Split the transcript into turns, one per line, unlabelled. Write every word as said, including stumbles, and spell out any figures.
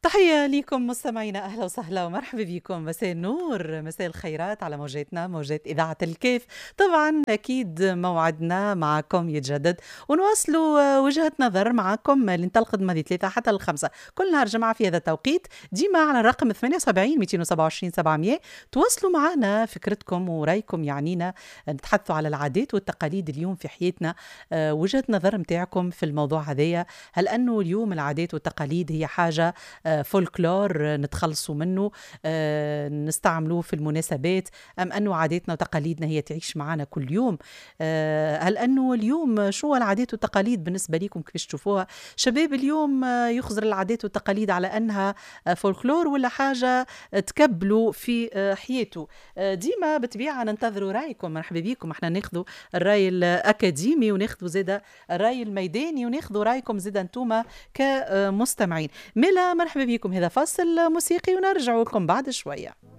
تحية لكم مستمعينا، أهلا وسهلا ومرحبا بكم. مساء النور، مساء الخيرات على موجاتنا، موجات إذاعة الكاف. طبعا أكيد موعدنا معكم يتجدد ونواصلوا وجهة نظر معكم اللي انطلقت ماضي ثلاثة حتى الخمسة كل نهار جمعة في هذا التوقيت، ديما على الرقم ثمانية وسبعين مئتين وسبعة وعشرين سبعمية. تواصلوا معنا فكرتكم ورأيكم، يعنينا نتحدثوا على العادات والتقاليد اليوم في حياتنا، وجهة نظر متاعكم في الموضوع هذايا. هل أنه اليوم العادات والتقاليد هي حاجة فولكلور نتخلصوا منه نستعملوه في المناسبات، أم أنه عاداتنا وتقاليدنا هي تعيش معنا كل يوم؟ هل أنه اليوم شو العادات والتقاليد بالنسبة لكم، كيفاش تشوفوها؟ شباب اليوم يخزر العادات والتقاليد على أنها فولكلور ولا حاجة تكبلوا في حياته؟ ديما بطبيعة ننتظروا رأيكم، مرحبا بكم. احنا ناخذوا الرأي الأكاديمي وناخذوا زادة الرأي الميداني وناخذوا رأيكم زادة انتوما كمستمعين. ملا مرحبا بكم. هذا فاصل موسيقي ونرجع لكم بعد شوية.